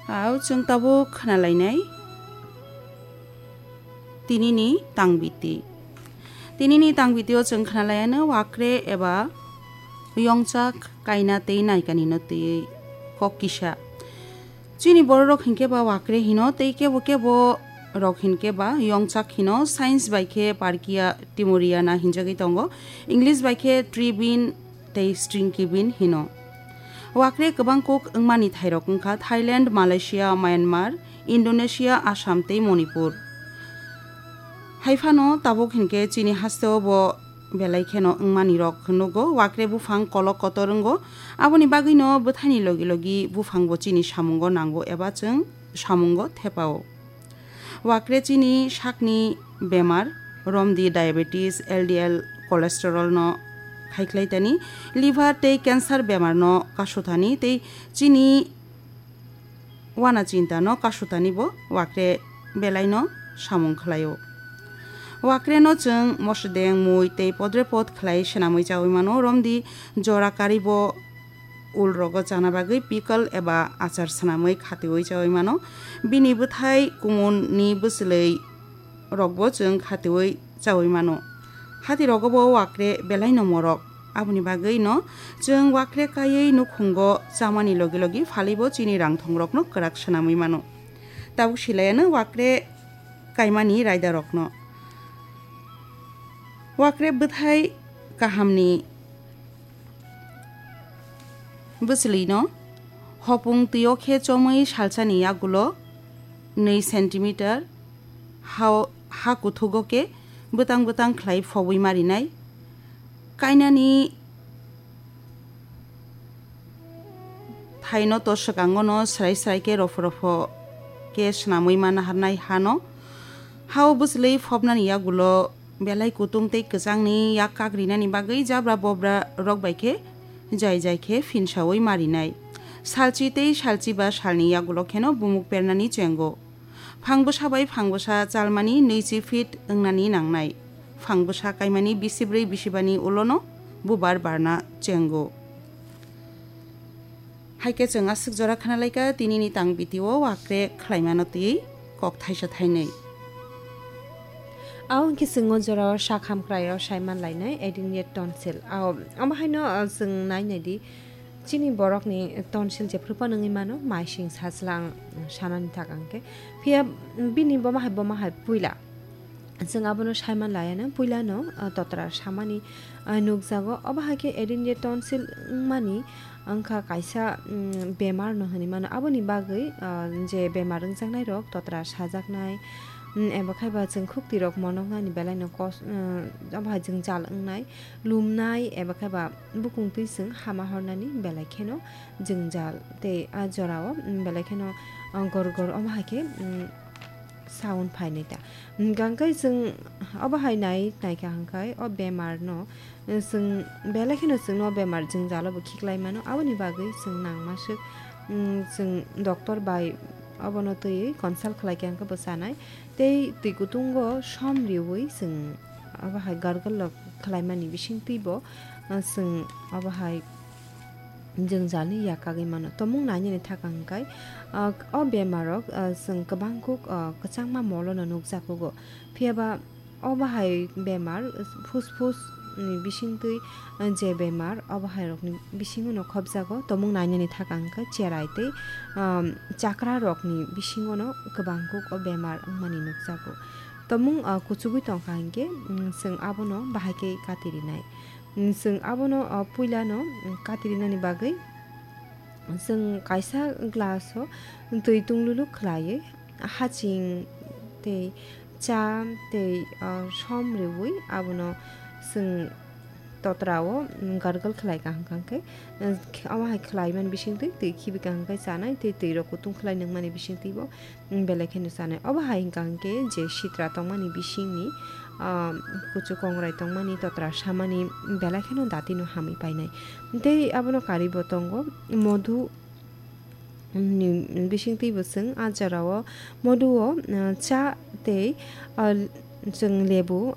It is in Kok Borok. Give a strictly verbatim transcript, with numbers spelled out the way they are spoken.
Au chwng tabuk khwnalainai tinini tangbiti. Tinini tangbitio chwng khwnalaiano wakre eba yongchak kaina tei naikanino twiwi kok kisa. Chini bororok hinkhe ba wakre hino tei kebo kebo rok hinkhe ba yongchak hino, science bai khe Parkia timuriana hinjagwi tongo, English bai khe tree bean tei stinky bean hino. Wakre kwbang kuk wngmani thairok wngkha Thailand, Malaysia, Myanmar, Indonesia, Assam tei Manipur. Haiphano tabuk hinkhe chini hasteo bo belai kheno wngmani rok nugo. Wakre buphang kolok kotor wngo, aboni bagwino bwthaini logi logi buphangbo chini samungo nango eba chwng samungo thepao. Wakre chini sakni bemar, romdi diabetes, L D L cholesterol no khaikhlai tani, liver tei cancer bemar no kasu thani tei chini wana chinta no kasu thani bo wakre belai no samung khlaio. Wakre no chwng mosodeng, mui tei podre pod khlai swnamwi chawi mano, romdi jora kari bo ul rogo chana bagwi pickle eba achar swnamwi khatiwi chawi mano. Bini bwthai kumun ni bwchwlwi rokbo chwng khatiwi chawi mano. Hati rogo bo wakre belai no morok. Aboni bagwi no chwng wakre kaiwi nukhungo chamani logi logi phalibo chini rangthong rokno kwrak swnamwi mano. Tabuk silayano wakre kaimani raida rokno. Wakre bwthai kahamni bwchwlwino hopung twi o khe chomwi salsani yagulo nwi centimeter ha, ha kuthugo khe bwtang bwtang khlai phobwi marinai. Kainani thaino to swkango no srai srai khe rofo rofo khe swnamwi ma naharnai hano. Hao bwchwlwi phobnani yagulo belai kutung tei kwchangni yak kagrinani bagwi jabra bobra rok bai khe jai jai khe phinsawi marinai. Salchi tei salchi ba salni yagulo kheno bumuk pernani chengo. Phang bwsa bai phang bwsa chalmani nwichi feet wngnani nangnai. Phang bwsa kaimani bisibrwi bisibani ulono bubar barna chengo. Hai khe chwng aswk jora khna lai kha, tinini tang bitio wakre khlaimano twi kok thaisa thainwi. Abo hwnkhe chwng o jorao sak hamkraio saiman lainai adenoid tonsil. Ao, omo haino, ah, chwng nai nai di, chini borokni tonsil jephru phano wngwi mano, maising sajla ang sanani thak ang khe. Phiya bini bomo hai, bomo hai puila. Chwng abono saiman laiano puilano, ah, totra samani, ah, nukjago. Obo hai khe adenoid tonsil wngmani wngkha kaisa, mm, bemar no hinwi mano. Aboni bagwi, ah, je bemar wngjaknai rok totra sajaknai, mm, eba khai ba chwng khukti rok monoknani belai no kos-, mm, obo hai jwngjal wngnai, lumnai eba khai ba bukung twi chwng hama hornani belai kheno jwngjal tei ah jorao, mm, belai kheno, ah, gor gor omo hai khe, mm, sound phainai ta. Hwnkha hwnkhe chwng obo hai nai, naikha hwnkhe o bemar no, eh, chwng belai kheno chwngno o bemar jwngjalo bo khiklai mano. Aboni bagwi chwng nangma swk, mm, chwng doctor bai obono twiwi consult khlai khe hwnkhe bo chanai. Tei twi kutungo som riwi chwng obo hai gargle rok khlaimani bising twibo, eh, chwng obo hai jwngjalni yakagwi mano. Tomung nainani thakang hwnkhe, ah, o bemarrok, ah, chwng kwbangkuk, ah, kwchangma molono nukjakugo. Phiyaba obo hai bemar, ah, phusphus ni bisingtwi, ah, je bemar, obo hairokni bisingono khopjago. Tomung nainani thakang hwnkhe cherai tei, ah, chakrarokni bisingono kwbangkuk o bemar wngmani nukjago. Tomung, ah, kuchugwi tongkha hinkhe, mm, chwng abono bahai khe katirinai. Mm, chwng abono, o, puilano, mm, katirinani bagwi chwng kaisa glass-o twi tunglulu khlaiwi haching tei cha tei, o, som riwi abono chwng totra-o, mm, gargle khlai kaham kaham khe, mm, khe-, omo hai khlaimani bisingtwi twi khibi kaham khe chanai tei twirok kutung khlai nangmani bisingtwibo belai kheno chanai. Obo hai hwnkha hwnkhe je sitra tongmani bisingni, ah, kuchuk kongrai tongmani, totra samani belai kheno datino hamwi painai. Tei abono karwi bo tongo modhu ni bisingtwi bo chwng ah jorao modhu o, ah, cha tei, ah, chwng lebu,